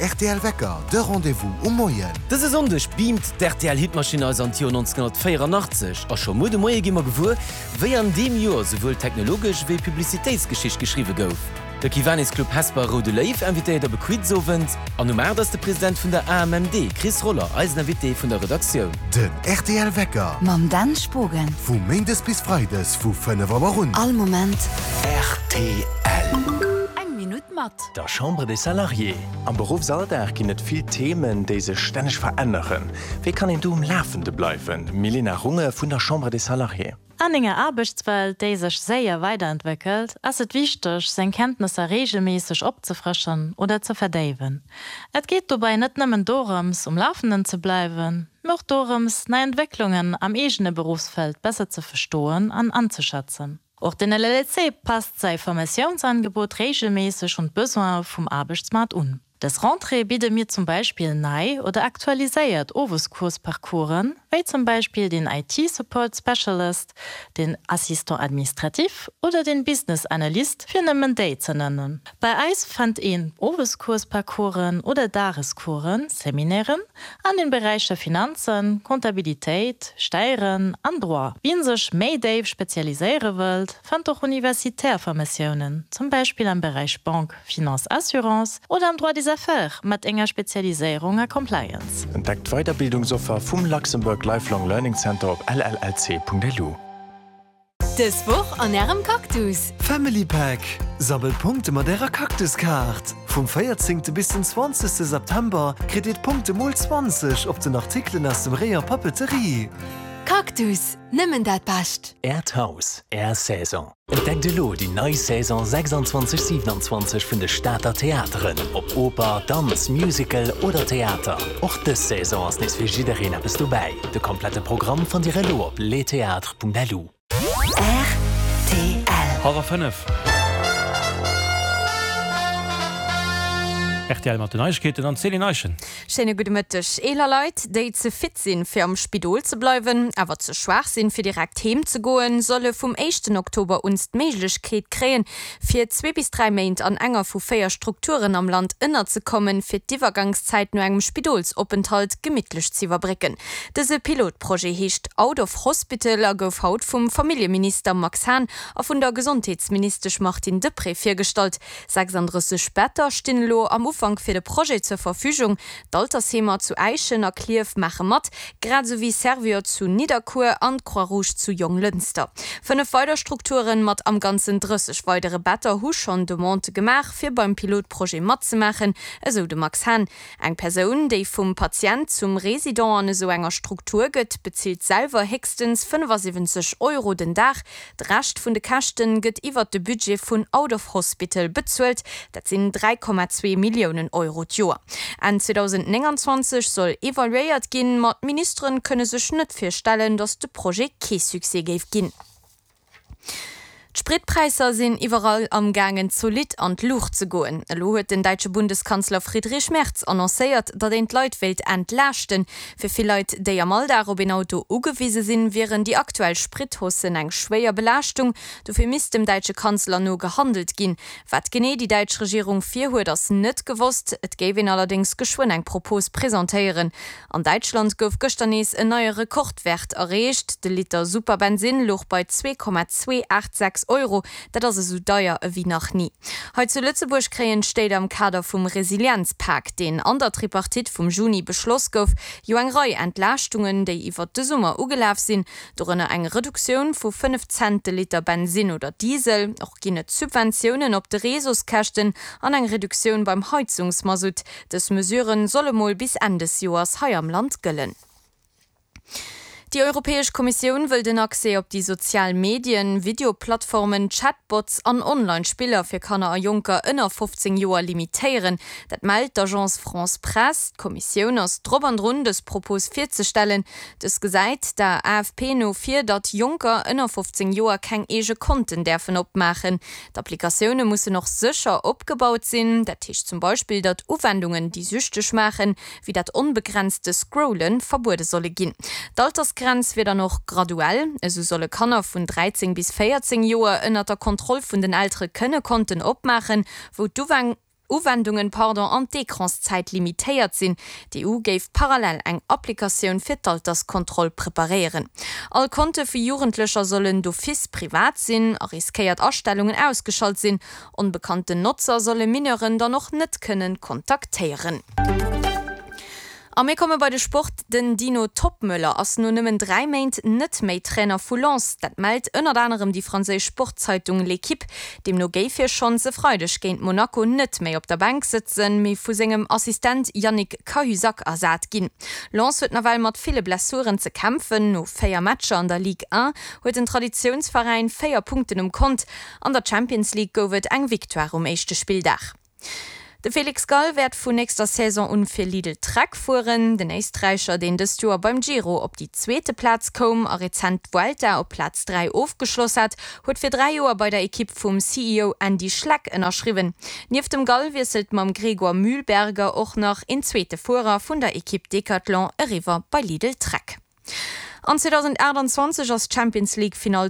rtl Wecker, de Rendez-vous um Moien. Dëse Sonndeg beamt d'RTL Hitmaschinn eis an d'Joer 1984 a scho muer de Moie gi mer gewuer, wéi an deem Joer souwuel technologesch wéi Publicitéitsgeschicht geschriwwe gouf. De Kiwanis Club Hesper Roude Léiw invitéiert op e Quizowend an um 8 ass de President vun der AMMD, Chris Roller, eisen Invité vun der Redaktioun. Den rtl Wecker. Mam Dan Spogen. Vu Méindes bis Freides vu 5 Auer un. All Moment. Rtl. Eng Minutt mat. Der Chambre des Salariés. Am Beruffsalldag ginn et vill Themen, déi sech stänneg veränneren. Wéi kann een do um Lafende bleiwen? Milena Runge vun der Chambre des Salariés. An enger Aarbechtswelt, déi sech séier weiderentwéckelt, ass et wichteg, seng Kenntnesser reegelméisseg opzefrëschen oder ze verdéiwen. Et geet dobäi net nëmmen dorëms, um Lafenden ze bleiwen, mee och dorëms, nei Entwécklungen am eegene Beruffsfeld besser ze verstoen an anzeschätzen. Och den LLC passt säi Formatiounsangebot reegelméisseg un d'Besoine vum Aarbechtsmaart un. Dës Rentrée bidde mir zum Beispill nei oder aktualiséiert Owescoursparcoursen, wéi zum Beispill den IT Support Specialist, den Assistant administratif oder den Business Analyst, fir nëmmen déi ze nennen. Bei eis fënnt een Owescoursparcoursen oder Dagescoursen, Seminairen, an den Beräicher Finanzen, Comptabilitéit, Steieren an Droit. Wien sech méi déif spezialiséiere wëllt, fënnt och universitär Formatiounen, zum Beispill am Beräich Banque, Finance, Assurance oder am Droit des Affaires mat enger Spezialiséierung a Compliance. Entdeckt d'Weiderbildungsoffer vum Luxembourg Lifelong Learning Center op llc.lu. Dës Woch an ärem Cactus! Family Pack, Sammelt Punkte mat ärer Cactus-Kaart! Vum 14 bis den 20 September kritt dir d'Punkte mol 20 op den Artikelen aus dem Rayon Papeterie. Cactus, nëmmen dat Bescht! Äert Haus, Är Saison. Entdeckt elo déi nei Saison 26, 27 vun de Stater Theateren. Ob Oper, Danz, Musical oder Theater, och dës Saison ass nees fir jiddereen eppes dobäi. De komplette Programm fannt Dir elo op lestheatres.lu. Rtl. Hallwer 5. Rtl mat den Neiegkeeten an d'Céline Eischen. Schéine gudde Mëtteg. Eeler Leit, déi ze fit sinn, fir am Spidol ze bleiwen, awer ze schwaach sinn, fir direkt heem ze goen, solle vum éischten Oktober un d'Méiglechkeet kréien, fir zwee bis dräi Méint an enger vu véier Strukturen am Land ënnerzekommen, fir d'Iwwergangszäit no engem Spidolsopenthalt gemittlech z'iwwerbrécken. Dëse Pilotprojet heescht Out of Hospital a gouf haut vum Familljeminister Max Hahn a vun der Gesondheetsministesch Martine Deprez virgestallt. 36 Better stinn elo am Ufank fir de Projet zur Verfügung. D'Altersheemer zu Äischen a Klierf maache mat, grad esou wéi Servior zu Nidderkuer an d'Croix-Rouge zu Jonglënster. 5 weider Strukturen mat am Ganzen 30 weidere Better hu schonn Demandë gemaach, fir beim Pilotprojet matzemaachen, esou de Max Hahn. Eng Persoun, déi vum Patient zum Resident an esou enger Struktur gëtt, bezilt selwer héchstens 75 Euro den Dag. De Rescht vun de Käschten gëtt iwwert de Budget vun Out of Hospital bezuelt, dat sinn 3,2 Milliounen Euro d'Joer. Enn 2029 soll evaluéiert ginn, ma d'Ministeren kënne sech net virstellen, datt de Projet kee Succès géif ginn. D'Spritpräisser sinn iwwerall am gaangen zolidd an d'Luucht ze goen. Elo huet den däitsche Bundeskanzler Friedrich Merz annoncéiert, datt een d'Leit wéilt entlaaschten. Fir vill Leit, déi am Alldag op een Auto ugewise sinn, wieren déi aktuell Sprithaussen eng schwéier Belaaschtung. Dofir misst dem däitsche Kanzler no gehandelt ginn. Wat genee déi däitsch Regierung virhuet, ass net gewosst. Et géif een allerdéngs geschwënn eng Propos presentéieren. An Däitschland gouf gëschter nees en neie Rekordwäert erreecht. De Liter Superbensinn louch bei 2,286 Euro. Dat ass esou deier ewéi nach ni. Hei zu Lëtzebuerg kréien d'Stéit am Kader vum Resilienzpak, deen an der Tripartite vum Juni beschloss gouf, jo eng Rei Entlaaschtungen, déi iwwert de Summer ugelaf sinn. Dorënner eng Reduktioun vu 5 Cent de Liter Bensinn oder Diesel. Och ginn et Subventiounen op de Réseauskäschten an eng Reduktioun beim Heizungsmasutt. Dës Mesurë solle mol bis Enn des Joers hei am Land gëllen. Déi Europäesch Kommissioun wëll den Accès op déi sozial Medien, Videoplattformen, Chatbots an Online-Spiller fir Kanner a Jonker ënner 15 Joer limitéieren. Dat mellt d'Agence France Presse. D'Kommissioun ass drop an drun, dës Propos virzestellen. Dës gesäit der AFP no vir, datt Jonker ënner 15 Joer keng eege Konten däerfen opmaachen. D'Applikatioune mussen och sécher opgebaut sinn. Dat heescht zum Beispill, datt Uwendungen, déi süchteg maachen, wéi dat onbegrenzte Scrollen, verbuede solle ginn. D'Altersgrenz wier dann och graduell. Esou solle Kanner vun 13 bis 14 Joer ënnert der Kontroll vun den Eltere kënne Konten opmaachen, wou d'Uwendung. Uwendungen, pardon, an d'Ecranszäit limitéiert sinn. D'EU géif parallel eng Applikatioun fir d'Alterskontroll preparéieren. All Konte vu Jugendlecher sollen d'office privat sinn a riskéiert Astellungen ausgeschalt sinn. Onbekannten Notzer solle Mineuren dann och net kënnen kontaktéieren. A mir komme bei de Sport, Den Dino Toppmöller ass no nëmmen 3 Méint net méi Trainer vu Lens. Dat mellt ënnert anerem déi franséisch Sportzeitung L'Equipe. Deemno géif hie schonns e Freideg géint Monaco net méi op der Bänk sëtzen, mee vu sengem Assistent Yannick Cahuzac ersat ginn. Lens huet nawell mat ville Blessuren ze kämpfen. No 4 Matcher an der Ligue 1 huet den Traditiounsveräin 4 Punkten um Kont. An der Champions League gouf et eng Victoire um éischte Spilldag. De Felix Gall wäert vun nächster Saison un fir Lidl Trek fueren. Den Éisträicher, deen dëst Joer beim Giro op déi zweete Plaz koum a rezent d'Vuelta op Plaz 3 ofgeschloss hat, huet fir 3 Joer bei der Ekipp vum CEO Andy Schleck ënnerschriwwen. Nieft dem Gall wiesselt mam Gregor Mühlberger och nach een zweete Fuerer vun der Ekipp Decathlon eriwwer bei Lidl Trek. An 2028 ass d'Champions League Finall.